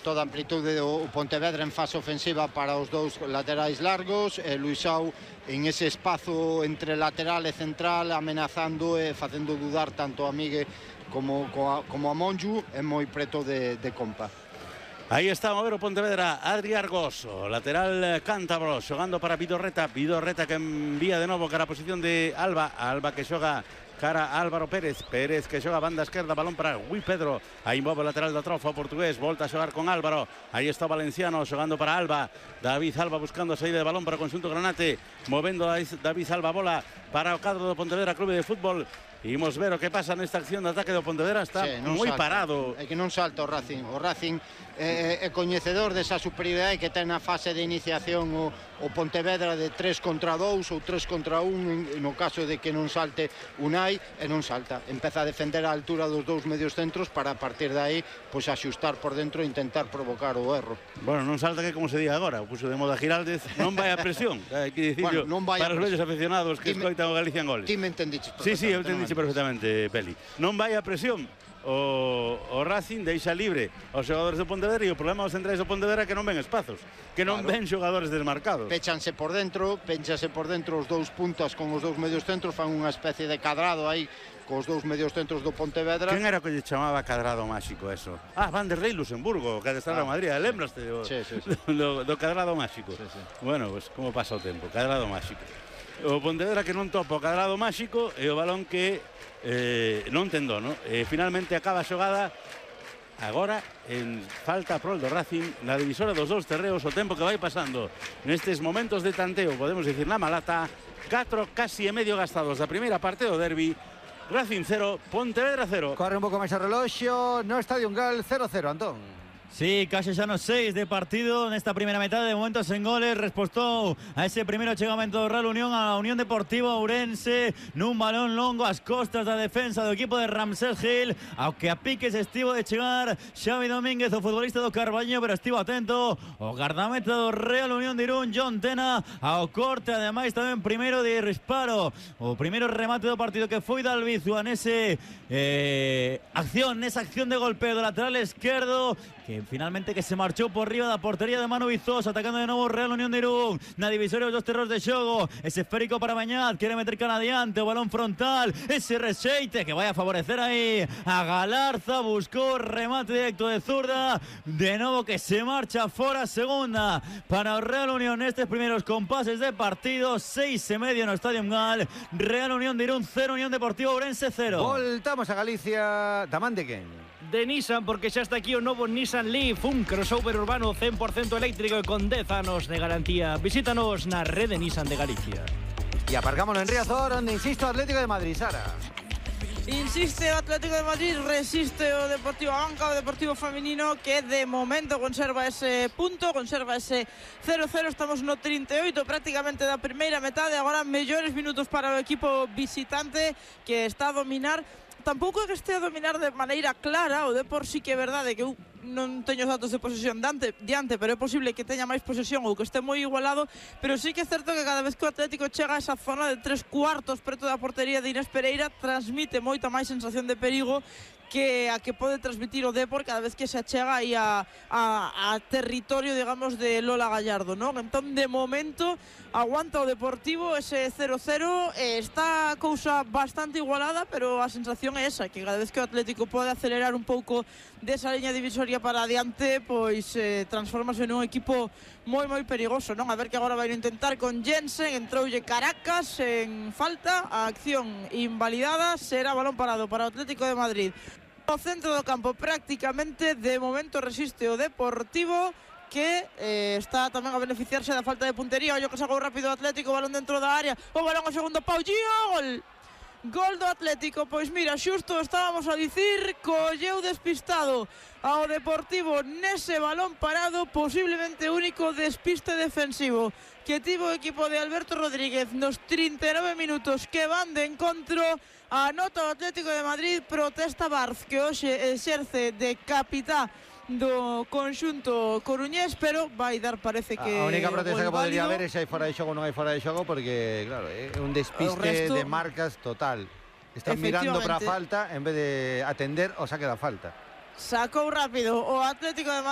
Toda a amplitude do Pontevedra en fase ofensiva para os dous laterais largos, Luisao en ese espazo entre lateral e central amenazando e facendo dudar tanto a Migue como a Monju, é moi preto de Compa. Aí está a mover o Pontevedra, Adri Argoso, lateral cántabro, xogando para Vidorreta que envía de novo cara a posición de Alba que xoga cara a Álvaro Pérez que xoga banda esquerda, balón para Gui Pedro, aí move o lateral da trofa o portugués, volta a xogar con Álvaro, aí está o valenciano xogando para Alba, David Alba buscando a saída de balón para o conxunto granate, movendo David Alba bola para o cadro do Pontevedra Clube de Fútbol. Imos ver o que pasa nesta acción de ataque do Pontevedra, está moi parado. É que non salta o Racing é coñecedor desa superioridade que ten na fase de iniciación o Pontevedra de 3 contra 2 ou 3 contra 1 no caso de que non salte Unai, e non salta, empeza a defender a altura dos dous medios centros para a partir de aí pois axustar por dentro e intentar provocar o erro. Bueno, non salta que como se di agora, o puso de moda Giraldez, non vai a presión, hai que dicirlo, para os vellos aficionados que escoitan o Galicia en Goles. Ti me entendiches Sí, perfectamente. eu entendiche perfectamente, Peli. Non vai a presión. O Racing deixa libre aos xogadores do Pontevedra e o problema dos centrais do Pontevedra é que non ven espazos, que non ven xogadores desmarcados. Péchanse por dentro os dous puntas con os dous medios centros, fan unha especie de cadrado aí cos dous medios centros do Pontevedra. Quen era que lle chamaba cadrado máxico eso? Van der Rey Luxemburgo, que adestrar a Madrid, lembraste do cadrado máxico? Bueno, pues como pasa o tempo, cadrado máxico. O Pontevedra que non topa o cadrado máxico e o balón que non tendó, ¿no? Finalmente acaba a xogada agora en falta prol do Racing na divisora dos dous terreos, o tempo que vai pasando nestes momentos de tanteo, podemos dicir na malata, 4 casi e medio gastados da primeira parte do derbi. Racing 0, Pontevedra 0. Corre un pouco máis o reloxo no Estadio Gal, 0-0, Antón. Sí, casi xa nos 6 de partido nesta primeira metade, de momento sen goles, respostou a ese primeiro chegamento do Real Unión a Unión Deportiva Ourense nun balón longo ás costas da defensa do equipo de Ramsés Gil, ao que a piques estivo de chegar Xavi Domínguez, o futbolista do Carballiño, pero estivo atento o gardameta do Real Unión de Irún, John Tena, ao corte, ademais tamén primeiro de disparo, o primeiro remate do partido que foi da Albizua nesa acción de golpeo do lateral esquerdo, que finalmente que se marchou por riba da portería de Manu Vizoso, atacando de novo o Real Unión de Irún na divisoria dos terros de xogo, ese esférico para Mañat, quere meter cara adiante, o balón frontal, ese rexeite que vai a favorecer aí a Galarza, buscou remate directo de zurda, de novo que se marcha fora, segunda para o Real Unión nestes primeiros compases de partido, 6:30 no Estadio Gal, Real Unión de Irún 0, Unión Deportiva Ourense 0. Voltamos a Galicia, tamán de quen? De Nissan, porque xa está aquí o novo Nissan Leaf, un crossover urbano 100% eléctrico e con 10 anos de garantía. Visítanos na rede Nissan de Galicia. E aparcámonos en Riazor, onde insisto Atlético de Madrid, Sara. Insiste o Atlético de Madrid, resiste o Deportivo Abanca, o Deportivo Feminino, que de momento conserva ese punto, conserva ese 0-0, estamos no 38 prácticamente da primeira metade, agora mellores minutos para o equipo visitante que está a dominar. Tampouco é que este a dominar de maneira clara, o Depor sí que é verdade que eu non teño os datos de posesión diante, pero é posible que teña máis posesión ou que este moi igualado, pero sí que é certo que cada vez que o Atlético chega a esa zona de 3/4 preto da portería de Inés Pereira, transmite moita máis sensación de perigo que a que pode transmitir o Depor cada vez que se achega aí a territorio, digamos, de Lola Gallardo, non? Entón, de momento, aguanta o Deportivo ese 0-0, está a cousa bastante igualada, pero a sensación é esa, que cada vez que o Atlético pode acelerar un pouco desa liña divisoria para adiante, pois transformase nun equipo moi perigoso, non? A ver que agora vai intentar con Jensen, entroulle Caracas en falta, a acción invalidada, será balón parado para o Atlético de Madrid. O centro do campo prácticamente de momento resiste o Deportivo, que está tamén a beneficiarse da falta de puntería. Ollo que sacou rápido o Atlético, balón dentro da área, o balón ao segundo pau, gol! Gol do Atlético, pois mira, xusto estábamos a dicir, colleu despistado ao Deportivo nese balón parado, posiblemente único despiste defensivo que tivo o equipo de Alberto Rodríguez nos 39 minutos que van de encontro. Anota o Atlético de Madrid, protesta Barz, que hoxe exerce de capitán do conxunto coruñés, pero vai dar, parece que a única protesta que podría haber é se hai fora de xogo ou non hai fora de xogo, porque claro, é un despiste de marcas total. Están mirando para a falta en vez de atender o saque da falta. sacou rápido o Atlético de Madrid.